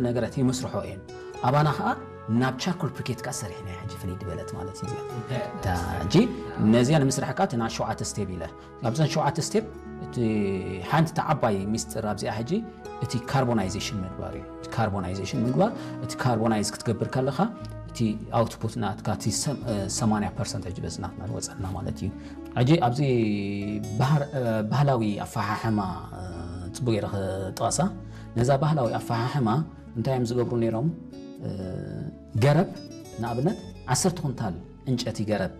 ነገራት ይመስርሖ እየን። ኣባና ከዓ ናብ ቻርኮል ፕሪኬት ከዓ ሰሪሕና ሕጂ ፍልይ ድበለት ማለት እዩ እዚኣ። እታ ሕጂ ነዚኣ ንምስራሕ ከዓ እቲ ናብ ሸውዓተ ስቴፕ ኢለ ኣብዘን ሸውዓተ ስቴፕ እቲ ሓንቲ ዓባይ ሚስጥር ኣብዚኣ ሕጂ እቲ ካርቦናይዜሽን ምግባር እዩ። እቲ ካርቦናይዜሽን ምግባር፣ እቲ ካርቦናይዝ ክትገብር ከለኻ እቲ ኣውትፑት ናትካ እቲ ሰም- እ፣ ሰማንያ ፐርሰንት ሕጂ በዚ ናትና ዝወፀና ማለት እዩ። ሕጂ ኣብዚ ባህር- እ፣ ባህላዊ ኣፈሓሕማ እ፣ ፅቡቅ ገይረ ክጠቕሳ። ነዛ ባህላዊ ኣፈሓሕማ እንታይ እዮም ዝገብሩ ነይሮም? እ፣ ገረብ ንኣብነት ዓሰርተ ኩንታል ዕንጨቲ ገረብ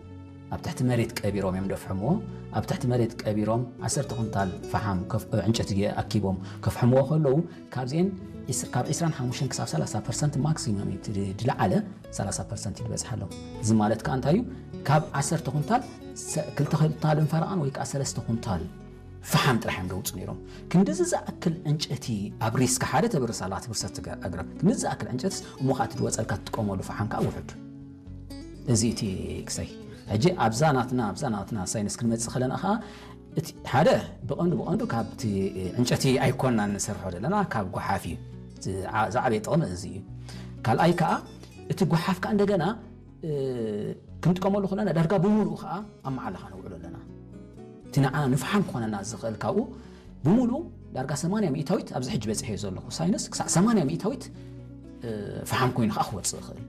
ኣብ ትሕቲ መሬት ቀቢሮም እዮም ደፍሕምዎ። ኣብ ትሕቲ መሬት ቀቢሮም ዓሰርተ ኩንታል ፈሓም ከፍ- ዕንጨቲ ኣኪቦም ከፍሕምዎ ከለዉ ካብዚአን ዒስ- ካብ ዕስራን ሓሙሽተን ክሳብ ሰላሳ ፐርሰንት ማክሲመም እዩ እቲ ዝለዓለ ሰላሳ ፐርሰንት እዩ ዝበፅሓሎም። እዚ ማለት ከዓ እንታይ እዩ? ካብ ዓሰርተ ኩንታል ሰ- ክልተ ኩንታልን ፈረቓን ወይ ከዓ ሰለስተ ኩንታል ፈሓም ጥራሕ እዮም ዘውፅኡ ነይሮም። ክንድዚ ዝኣክል ዕንጨቲ ኣብ ሪስክ ሓደ ተብርስ ኣላ ትብርሰት ትገ- ኣግረብ ክንድዚ ዝኣክል ዕንጨትስ እሞ ከዓ እቲ ዝወፀልካ ትጥቀመሉ ፈሓም ከዓ ውሑድ። እዚ እቲ ክሳይ ሕጂ ኣብዛ ናትና ኣብዛ ናትና ሳይንስ ክንመፅእ ከለና ከዓ እቲ ሓደ ብቐንዱ ብቐንዱ ካብቲ ዕንጨቲ ኣይኮንና ንሰርሖ ዘለና ካብ ጓሓፍ እዩ። ዝ- ዓ- ዝዓበየ ጥቕሚ እዚ እዩ። ካልኣይ ከዓ እቲ ጓሓፍ ከዓ እንደገና እ፣ ክንጥቀመሉ ከለና ዳርጋ ብምሉኡ ከዓ ኣብ መዓላኻ ነውዕሎ ኣለና። እቲ ንዓና ንፍሓም ክኾነና ዝኽእል ካብኡ ብምሉኡ ዳርጋ ሰማንያ ሚእታዊት ኣብዚ ሕጂ በፂሐዮ ዘለኹ ሳይንስ ክሳዕ ሰማንያ ሚእታዊት እ፣ ፈሓም ኮይኑ ከዓ ክወፅእ ይኽእል።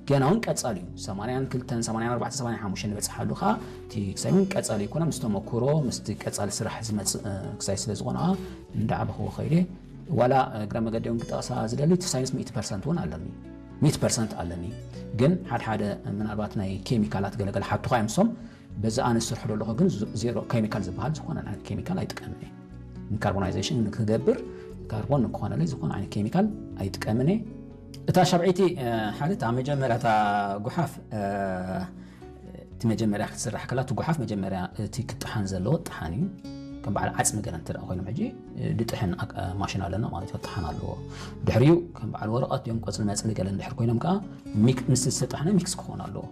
ገና እውን ቀፃሊ እዩ። ሰማንያን ክልተን ሰማንያን ኣርባዕተን ሰማንያን ሓሙሽተን ንበፅሓሉ ከዓ እቲ ክሳይ እውን ቀፃሊ ይኮነ ምስ ተመክሮ ምስቲ ቀፃሊ ስራሕ ዝመፅእ እ፣ ክሳይ ስለ ዝኾነ ከዓ እንዳዓበኽዎ ከይደ ዋላ እግረ መገዲ እውን ክጠቕሳ ዝደሊ እቲ ሳይንስ ሚእቲ ፐርሰንት እውን ኣለኒ ሚእቲ ፐርሰንት ኣለኒ። ግን ሓደ ሓደ ምናልባት ናይ ኬሚካላት ገለገለ ሓቱኻ እዮም ሶም በዚ ኣነ ዝሰርሖ ዘለኹ ግን ዝ- ዜሮ ኬሚካል ዝበሃል ዝኾነ ዓይነት ኬሚካል ኣይጥቀምን እየ። ንካርቦናይዜሽን ንክገብር ካርቦን ንክኾነለይ ዝኾነ ዓይነት ኬሚካል ኣይጥቀምን እየ። እታ ሻብዐይቲ እ፣ ሓደት ኣብ መጀመርያ እታ ጉሓፍ እ፣ እቲ መጀመርያ ክትስራሕ ከላ እቲ ጉሓፍ መጀመርያ እቲ ክጠሓን ዘለዎ ጠሓን እዩ። ከም በዓል ዓፅሚ ገለ እንተ ኮይኖም ሕጂ እ፣ ድጥሕን ኣቅ- እ፣ ማሽን ኣለና ማለት እዩ። ጠሓን ኣለዎ። ድሕሪኡ ከም በዓል ወረቐት እዮም ቆፅሊ መፅሊ ገለ እንድሕር ኮይኖም ከዓ ሚክ- ምስ ዝተጠሕነ ሚክስ ክኾን ኣለዎ።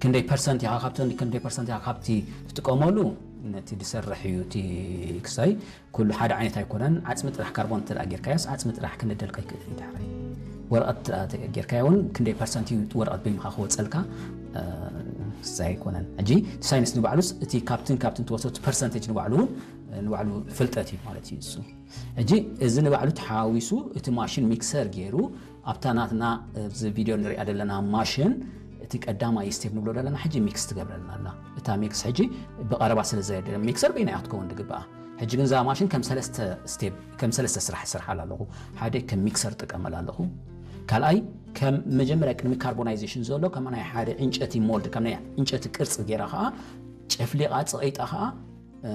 ክንደይ ፐርሰንት ኢኻ ካብቲ ክንደይ ፐርሰንት ኢኻ ካብቲ ትጥቀመሉ ነቲ ዝሰርሕ እዩ። እቲ ክሳይ ኩሉ ሓደ ዓይነት ኣይኮነን። ዓፅሚ ጥራሕ ካርቦን እንተ ጌርካዮስ ዓፅሚ ጥራሕ ክንደልካ ይክእል እዩ። ዳሕራይ ወረቐት ጌርካዮ እውን ክንደይ ፐርሰንት እዩ ወረቐት በይንኻ ክወፀልካ እ፣ ክሳይ ኣይኮነን። ሕጂ እቲ ሳይንስ ንባዕሉስ እቲ ካብትን ካብትን ትወስዶ ፐርሰንቴጅ ንባዕሉ እውን ንባዕሉ ፍልጠት እዩ ማለት እዩ እሱ። ሕጂ እዚ ንባዕሉ ተሓዋዊሱ እቲ ማሽን ሚክሰር ገይሩ ኣብታ ናትና ኣብዚ ቪድዮ ንሪኣ ዘለና ማሽን እቲ ቀዳማይ ስቴፕ ንብሎ ዘለና ሕጂ ሚክስ ትገብረልና ኣላ። እታ ሚክስ ሕጂ ብቐረባ ስለ ዘየደ ሚክሰር በይና እያ ክትከውን ዝግብኣ። ሕጂ ግን እዛ ማሽን ከም ሰለስተ ስቴፕ ከም ሰለስተ ስራሕ ስርሓላ ኣለኹ። ሓደ ከም ሚክሰር ጥቀመላ ኣለኹ። ካልኣይ ከም መጀመርያ ቅድሚ ካርቦናይዜሽን ዘሎ ከም ናይ ሓደ ዕንጨቲ ሞልድ ከም ናይ ዕንጨቲ ቅርፂ ገይራ ከዓ ጨፍሊቓ ፅቐይጣ ከዓ እ፣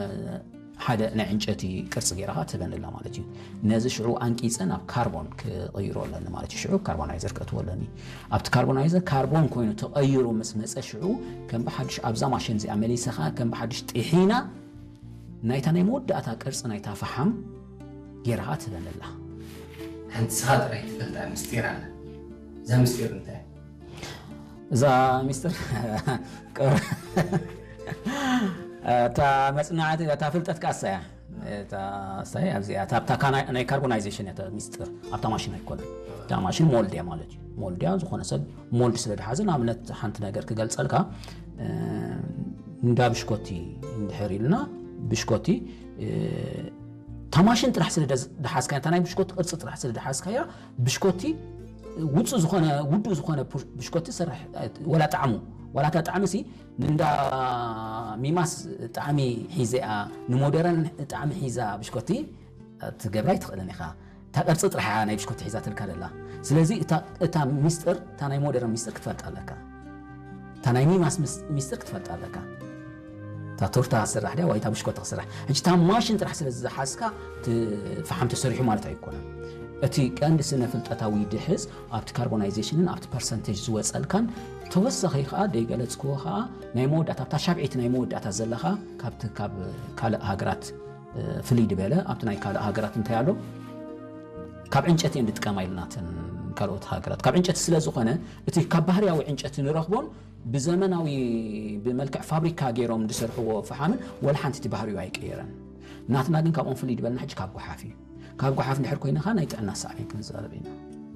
ሓደ ናይ ዕንጨቲ ቅርፂ ገይራ ከዓ ትህበኒ ኣላ ማለት እዩ። ነዚ ሽዑ ኣንቂፀ ናብ ካርቦን ክቕይሮ ኣለኒ ማለት እዩ። ሽዑ ካርቦናይዘር ከእትዎ ኣለኒ። ኣብቲ ካርቦናይዘር ካርቦን ኮይኑ ተቐይሩ ምስ መፀ ሽዑ ከም ብሓዱሽ ኣብዛ ማሽን እዚኣ መሊሰ ከዓ ከም ብሓዱሽ ጥሒና ናይታ ናይ መወዳእታ ቅርፂ ናይታ ፈሓም ገይራ ከዓ ትህበኒ ኣላ። ሓንቲ ስኻ ጥራይ ትፈልጣ ምስጢር ኣላ። እዛ ምስጢር እንታይ? እዛ ሚስጥር እታ መፅናዕቲ እታ ፍልጠት ከዓ እሳያ እታ እሳይ ኣብዚኣ እታ ኣብታ ካና- ናይ ካርቦናይዜሽን እያ እታ ሚስጥር ኣብታ ማሽን ኣይኮነን። እታ ማሽን ሞልድ እያ ማለት እዩ። ሞልድ እያ ዝኾነ ሰብ ሞልድ ስለ ድሓዘ ንኣብነት ሓንቲ ነገር ክገልፀልካ እ፣ እንዳ ብሽኮቲ እንድሕር ኢልና ብሽኮቲ እ፣ እታ ማሽን ጥራሕ ስለ ደዝ- ድሓዝካያ እታ ናይ ብሽኮቲ ቅርፂ ጥራሕ ስለ ድሓዝካያ ብሽኮቲ ውፁ ዝኾነ ውዱ ዝኾነ ፑሽ- ብሽኮቲ ሰርሕ ወላ ጣዕሙ ወላ እታ ጣዕሚ ሲ ንእንዳ ሚማስ ጣዕሚ ሒዘኣ ንሞደረን ጣዕሚ ሒዛ ብሽኮቲ ትገብራ ኣይትኽእልን ኢኻ። እታ ቅርፂ ጥራሕ እያ ናይ ብሽኮቲ ሒዛ ትልካ ደላ። ስለዚ እታ- እታ ሚስጥር እታ ናይ ሞደረን ሚስጥር ክትፈልጥ ኣለካ። እታ ናይ ሚማስ ምስ- ሚስጥር ክትፈልጥ ኣለካ። እታ ቶርታ ክስራሕ ድያ ወይ እታ ብሽኮቲ ክስራሕ። ሕጂ እታ ማሽን ጥራሕ ስለ ዝሓዝካ እቲ ፈሓም ተሰሪሑ ማለት ኣይኮነን። እቲ ቀንዲ ስነ ፍልጠታዊ ድሕዝ ኣብቲ ካርቦናይዜሽንን ኣብቲ ፐርሰንቴጅ ዝወፀልካን ተወሳኺ ከዓ ደይገለፅክዎ ከዓ ናይ መወዳእታ ኣብታ ሻብዒቲ ናይ መወዳእታ ዘለኻ ካብቲ ካብ ካልእ ሃገራት እ፣ ፍልይ ዝበለ ኣብቲ ናይ ካልእ ሃገራት እንታይ ኣሎ ካብ ዕንጨቲ እየን ዝጥቀማ ኢልናተን ካልኦት ሃገራት ካብ ዕንጨቲ ስለ ዝኾነ እቲ ካብ ባህርያዊ ዕንጨቲ ንረኽቦን ብዘመናዊ ብመልክዕ ፋብሪካ ገይሮም ዝሰርሕዎ ፈሓምን ወላ ሓንቲ እቲ ባህሪኡ ኣይቀየረን። ናትና ግን ካብኦም ፍልይ ዝበልና ሕጂ ካብ ጓሓፍ እዩ። ካብ ጓሓፍ እንድሕር ኮይንኻ ናይ ጥዕና ሳዕቤን ክንዛረብ ኢና።